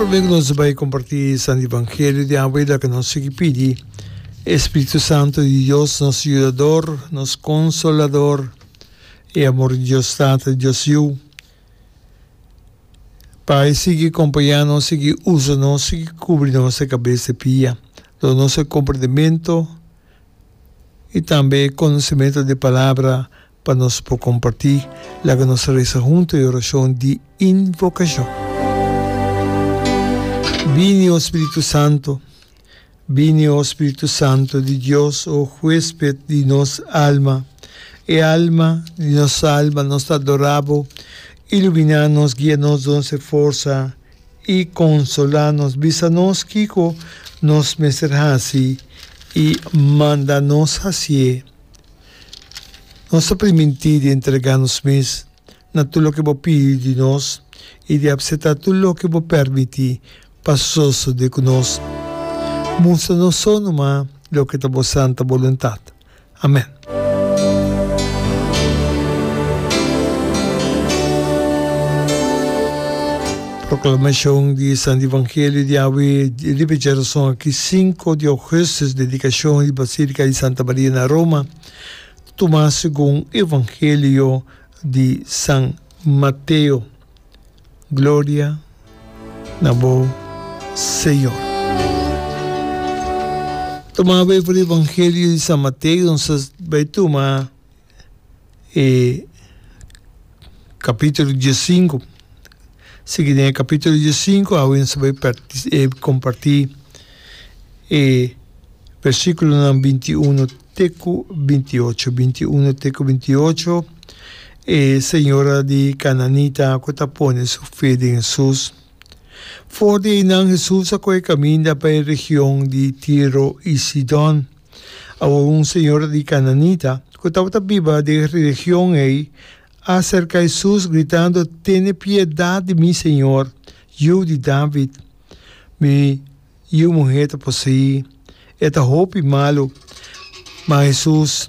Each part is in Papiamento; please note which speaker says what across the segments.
Speaker 1: Prome ku nos bai kompartí Santo Evangelio di awe laga nos sigui pidi e Spiritu Santo di Dios, nos Yudador, nos Konsolador, e amor di Dios Tata i Dios Yu, pa e sigui kompañá nos, sigui usa nos, sigui kubri nos e kabes te pia, duna nos e komprendementu i tambe e konosementu di e Palabra pa nos por kompartí. Laga nos resa huntu e orashon di invokashon. Bini, o Spiritu Santu. Bini, o Spiritu Santu di Dios, o huesped di nos alma, e alma di nos alma, nos ta adorá bo. Iluminá nos, guia nos, duna nos e forsa i konsolá nos. Bisa nos kiko nos mester hasi i manda nos hasié. Nos ta primintí di entregá nos mes na tur loke bo pidi di nos i di apseptá tur loke bo permití pa sosodé ku nos. Mustra nos so numa loke ta bo santa boluntat. Amèn. Proklamashon di Santo Evangelio di awe riba e djarason aki sinku di ougùstus, dedikashon di Basilika di Santa Maria na Roma, tumá segun Evangelio di San Mateo. Gloria na bo, Señor. Tuma bai for Evangelio di San Mateo, nos a bai tuma e capítulo diesinku. Sigui den e capítulo diesinku, awe nos a bai comparti e versículonan bintiuno te ku bintiocho. Bintiuno te ku bintiocho. E señora di Cananita cu ta pone su fe den Hesus. For di einan Hesus a coge caminda pa e region di Tiro i Sidon. Awor un señora di Cananita cu tabata biba den e region ei a acerca Hesus gritando, Tene piedad di mi, Señor, Yiu di David. Mi Yu muhé ta poseí, e ta hopi malu. Ma Hesus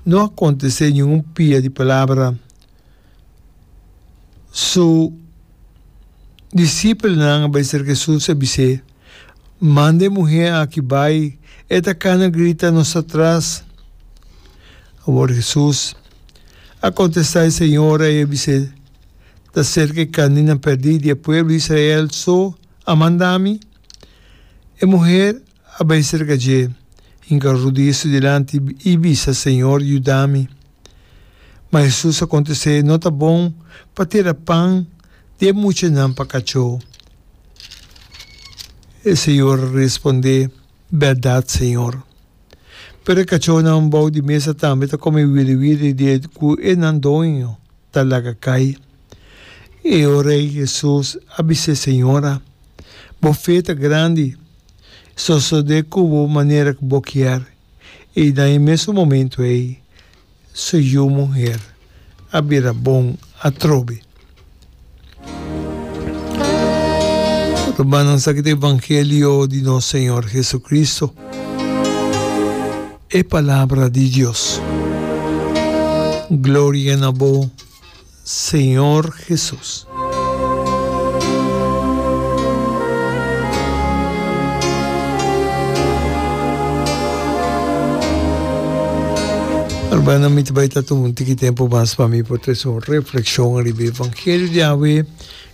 Speaker 1: no a kontest'é ningun pia di palabra. Su disipelnan a bai serka Hesus i a bis'é, Manda e muhé aki bai, e ta kana grita nos atras. Awor Hesus a kontestá e señora i a bis'é, Ta serka e karnénan pèrdí di e pueblo di Israel so a manda mi? E muher a bai serka dje, hinka rudia su dilanti i bisa, Señor, yuda mi. Ma Hesus a kontest'é, No ta bon pa tira pan di e muchanan pa kachó. E señor a respondé, Bèrdat, Señor. Pero e kachónan bou di mesa tambe ta kome wiriwiri di e ku e nan doño ta laga kai. E ora ei Hesus a bis'é, Señora, bo fe ta grandi, sosodé ku bo manera ku bo kier. I na e mesun momentu ei su yu muher a bira bon atrobe. Rumannan, esaki ta evangelio di nos Señor Jesucristo, e Palabra di Dios. Gloria na bo, Señor Jesus. Hermano, mi ta bai ta tuma un tiki tempu mas pa mi por trese un reflexion riba e evangelio di awe,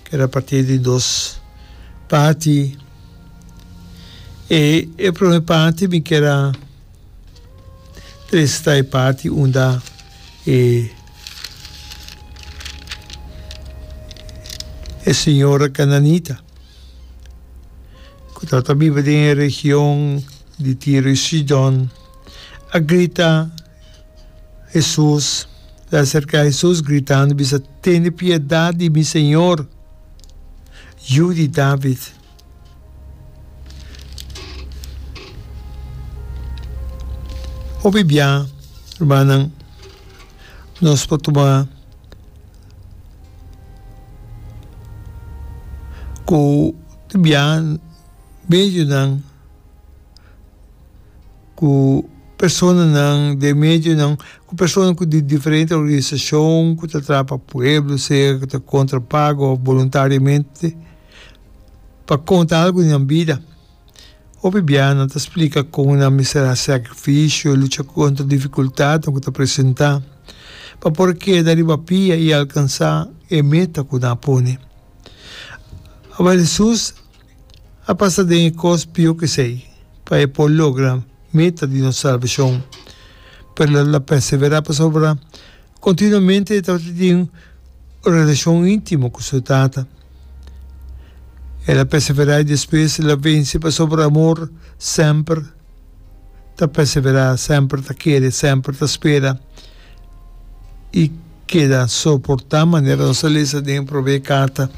Speaker 1: ke ta parti di dos parti. E e prome parti mi kier a trese ta e parti unda e e señora Cananita ku tabata biba den e region di Tiro i Sidon a grita Hesus, el a aserká Hesus gritando bisa, Tene piedat di mi, Señor, Yu di David. Hopi bia, rumannan, nos por tuma ku bia medionan ku personanan den medionan ku personanan ku di diferente organisashon ku ta traha pa pueblo sea ku ta kontra pago òf boluntariamente. pa konta algu di nan bida. Hopi biaha nan ta splika kon nan mester hasi sakrifisio i lucha kontra difikultatnan ku ta presentá pa por keda riba pia i alkansá e meta ku nan a pone. Awor Hesus a pasa den e kos pió ku esei pa e por logra meta di nos salbashon. Pero el a perseverá pasobra Kontinuamente e tabata tin un relashon íntimo ku su Tata. El a perseverá i despues el a vense pasobra amor semper ta perseverá, semper ta kere, semper ta spera i keda soportá, manera nos a lesa den e promé karta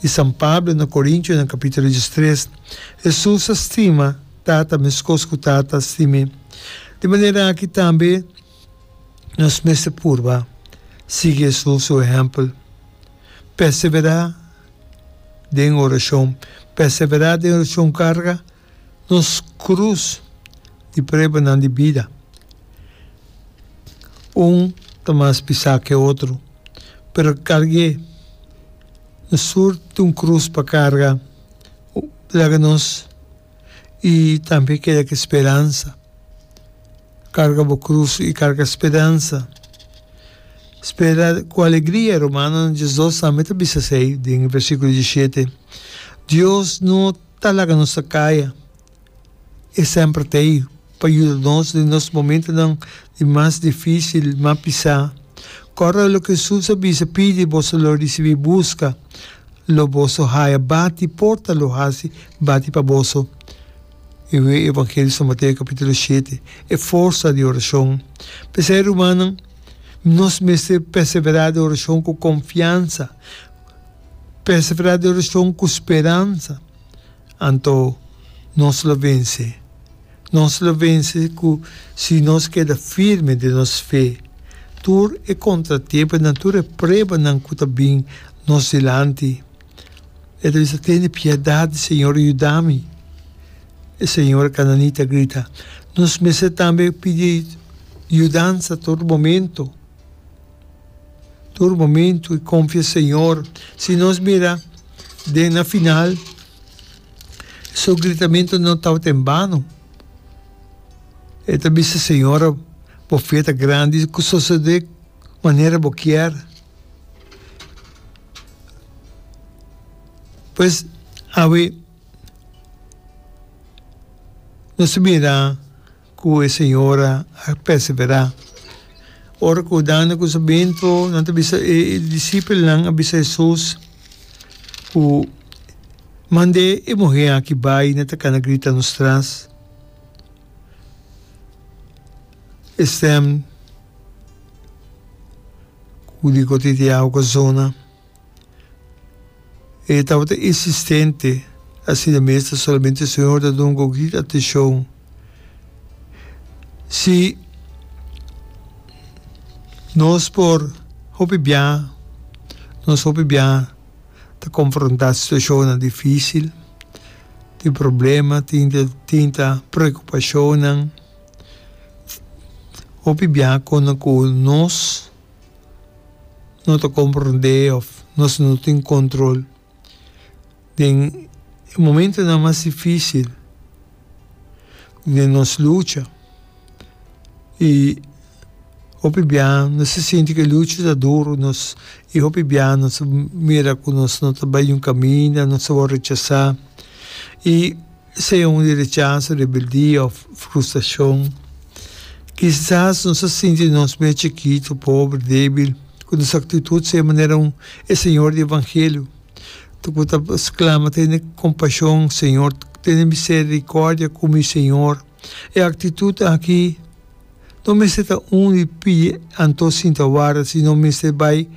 Speaker 1: di San Pablo na Korintionan kapítulo diestres. Hesus a stima Tata meskos ku Tata a stim'é. Di manera aki tambe. Nos mester purba sigui Hesus su ehèmpel. Perseverá den orashon. Perseverá den orashon karga nos krus di pruebanan di bida. Un ta mas pisá ku e otro, pero karg'é. Nos tur tin un krus pa karga. Laga nos i tambe keda ku speransa. Karga bo krus i karga speransa. Spera ku alegria, Romanonan diesdos tambe ta bisa esei den e versíkulo dieshete. Dios no ta laga nos ta kaya. E semper ta ei pa yuda nos den nos momentonan di mas difísil, mas pisá. Kòrda loke Hesus a bisa, Pidi, boso lo risibí, buska, lo boso haya, bati, porta lo hasi bati pa boso. E Evangelio San Mateo capítulo shete, e forsa di oracion. P'esei, rumannan, nos mester perseverá den oracion cu confiansa, perseverá den oracion cu speransa, anto nos lo vence. Nos lo vence cu si nos keda firme den nos fe. Tur e contratiemponan, tur e pruebanan cu ta bin nos dilanti, E ta bisa, Tene piedad, Señor, yuda mi. E señora cananita a grita, Nos mester tambe pidi yudansa tur momento, tur momento, i confia Señor. Si nos mira den na final, su gritamento no tabata en bano. E ta bisa, Señora, bo fe ta grandi, cu sosode manera bo kier. Pues awe nos ta mira ku e señora a perseverá. Ora ku dando ku su bento nan ta bisa e disipelnan a bisa Hesus ku mand'é e muhé aki bai nan ta kana grita nos tras. E stèm ku di kote di awa ku zona. E tabata insistente, asina mes ta solamente Señor ta duna un poquito atencion. Si nos por hopi bia, nos hopi bia ta confronta situacionnan dificil, tin problema, tin tin ta preocupacionnan, hopi bia con cu nos. no ta komprondé òf nos no tin kontrol. Den e momentonan mas difísil den nos lucha i hopi bia nos ta sinti ku e lucha ta duru nos i hopi bia nos ta mira ku nos no ta bai un kaminda, nos ta wòrdu rechasá i. Sea un di rechaso, rebeldia of frustracion. Kisas nos a sinti nos mes chikitu, pober, debil, cu nos actitud sea manera un e Señor di Evangelio cu ta sclama, Tene compasion, Señor, tene misericordia cu mi, Señor. E actitud aki no mester ta un di pidi anto sinta warda, sino mester bay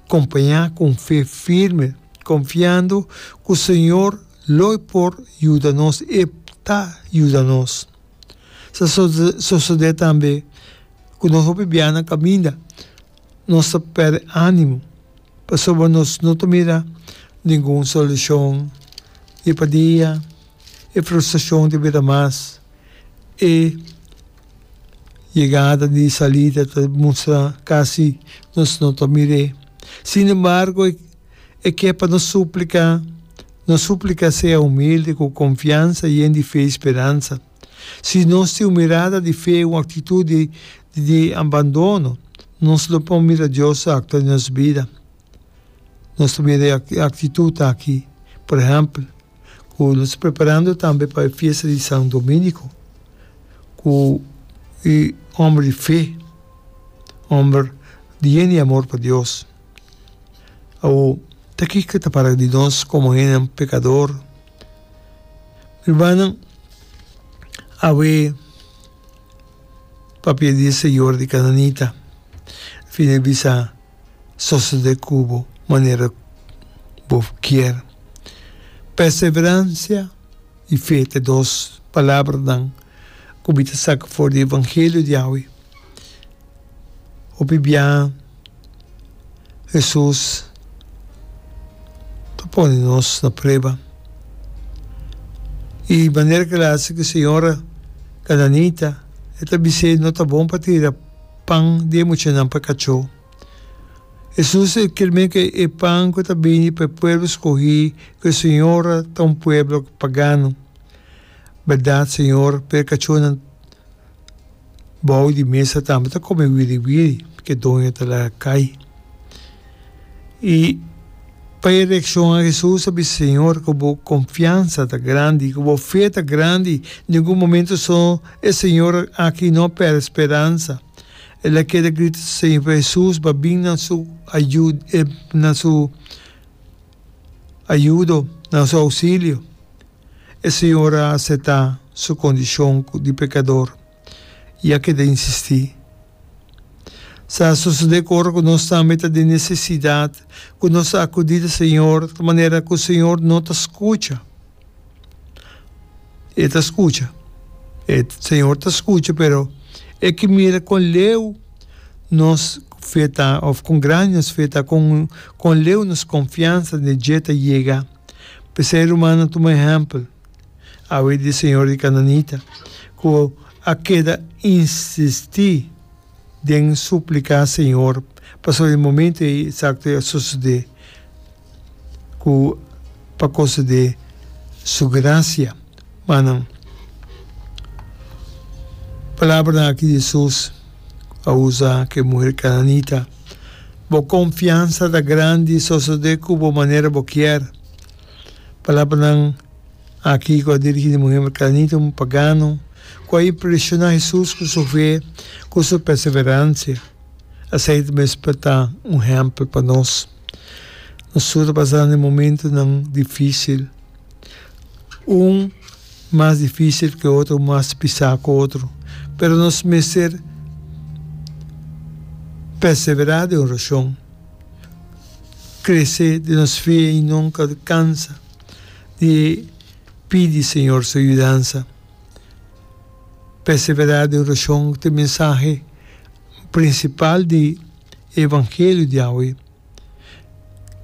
Speaker 1: compaña cu un fe firme, confiando cu Señor Lo e por yuda nos, e ta yuda nos. Sa sosodé tambe ku nos hopi biaha na kaminda nos ta pèrdè ánimo pasobra nos no ta mira ningun solushon. Dia pa dia e frustrashon ta bira mas, e yegada di salida ta mustra kasi nos no ta mir'é. Sinembargo e ke pa nos supliká. Nos súplika sea humilde, ku konfiansa, yen di fe i speransa. Si nos tin un mirada di fe i un aktitut di di abandono, nos lo por mira Dios aktua den nos bida. Nos ta mira e aktitut aki, por ehèmpel, ku nos ta preparando tambe pa e fiesta di San Dominico, ku e hòmber di fe, hòmber di yen di amor pa Dios. Awor, ta kiko ta para di nos komo hendenan pekador? Mi rumannan, awe papia di e señor di Kananita fina e bisa sosodé ku bo manera bo kier. Perseveransia i fe ta e dos palabranan ku mi ta saka for di evangelio di awe. Hopi biaha Hesus ta pone nos na prueba. I manera ku el a hasi ku e señora kananita, e ta bis'é no ta bon pa tira pan di e muchanan pa kachó. Hesus a kirmé ku e pan ku ta bini pa e pueblo skohí ku e señora ta un pueblo pagano. Bèrdat, Señor, pero e kachónan Bou di mesa tambe ta kome wiri wiri ke doño ta laga kai. I pa e reakshon a Hesus a bisa, Señor, ku bo konfiansa ta grandi, ku bo fe ta grandi. Ningun momento so e señor aki no a pèrdè speransa. El a keda grita Señor pa Hesus pa bin na su na su ayudo, na su ousilio. E señor a acepta su condicion di pecador y a keda insisti. Sa sosode cu ora cu nos tambe ta den necesidad, cu nos ta acudi ta Señor, ta manera cu Señor no ta scucha. E ta scucha. E Señor ta scucha, pero e ke mira con leu nos fe ta, of con grandi nos fe ta, con con leu nos confiansa den dje ta yega. P'esei rumannan tuma ehèmpel awe di señor di Kananita ku a keda insistí den supliká Señor pasobra e momento ei eksakto ei a sosodé ku pa konsedé su grasia. Manan, palabranan aki di Hesus a usa ku e muher kananita. Bo konfiansa ta grandi, sosodé ku bo manera bo kier. Palabranan aki ku a dirigí na e muher kananita, un pagano, ku a impreshoná Hesus ku su fe, ku su perseveransia. Esei ta mester ta un ehèmpel pa nos. Nos tur ta pasando den momentunan difísil. Un mas difícil ke otro, un mas pisá ku otro. Pero nos mester perseverá den orashon, krese den nos fe i nunka kansa di pidi Señor su yudansa. Perseverá den orashon ta e mensahe prinsipal di e evangelio di awe.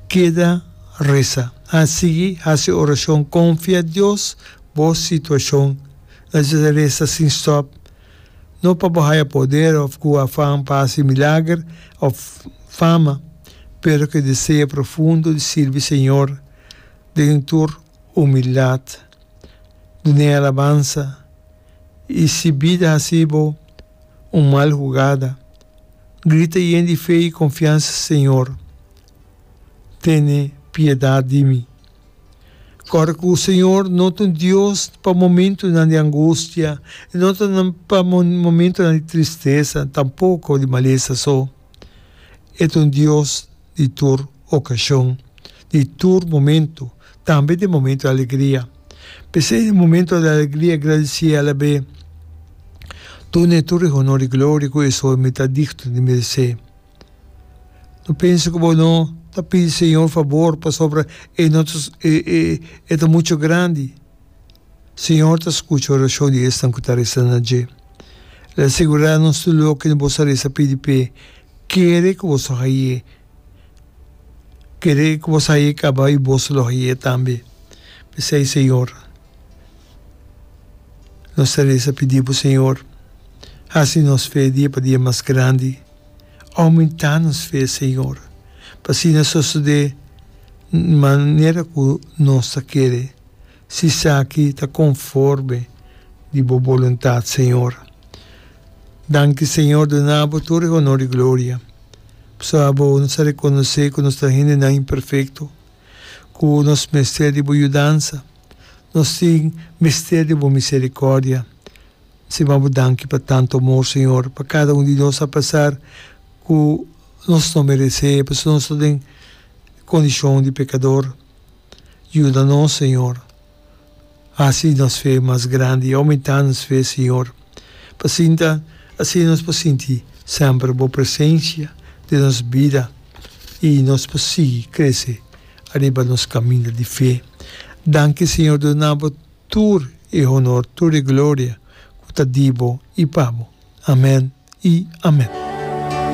Speaker 1: Keda resa. A sigui hasi orashon. Konfia Dios bo situashon. Nos resa sin stòp, no pa bo haya poder òf ku afan pa hasi milager òf fama, pero ku e deseo profundo di sirbi Señor den tur humildat. Dun'é alabansa, i si bida hasi bo un mal hugada, Grita yen di fe i konfiansa, Señor, tene piedat di mi. Kòrda ku Señor no ta un Dios pa momentunan di angustia, e no ta pa momentunan di tristesa, tampoko di malesa so. E ta un Dios di tur okashon, di tur momentu, tambe den momentu di alegria. P'esei den momentu di alegria gradisí alab'é. Dun'é tur e honor i gloria ku esou mi ta digno di meresé. No pensa ku bo no ta pidi Señor fabor pasobra e no ta e ta muchu grandi. Señor ta skucha orashon di esnan ku ta resa na dje. El a sigurá nos tur loke boso a resa pidi p'e. Kere ku boso haye. Kere ku boso haye kaba i boso lo haye tambe. P'esei, Señor, nos ta resa pidi bo, Señor, hasi nos fe dia pa dia mas grandi. Oumentá nos fe, Señor, pa asina sosodé. Manera ku nos ta kere, si esaki ta konforme di bo boluntat, Señor. Danki, Señor, duna bo tur e honor i gloria. Pasobra bo nos a rekonosé ku nos ta hendenan imperfekto, ku nos mester di bo yudansa. Nos tin mester di bo miserikòrdia. Sima bo danki pa tantu amor, Señor, pa kada un di nos apesar ku nos no meresé, pasobra nos ta den kondishon di pekador. Yuda nos, Señor. Hasi nos fe mas grandi, oumentá nos fe, Señor, pa sinta asina nos por sinti semper bo presensia den nos bida i nos por sigui krese ariba nos kaminda di fe. Danki, Señor, duna bo tur e honor, tur e gloria ku ta di bo i pa bo. Amen i amen.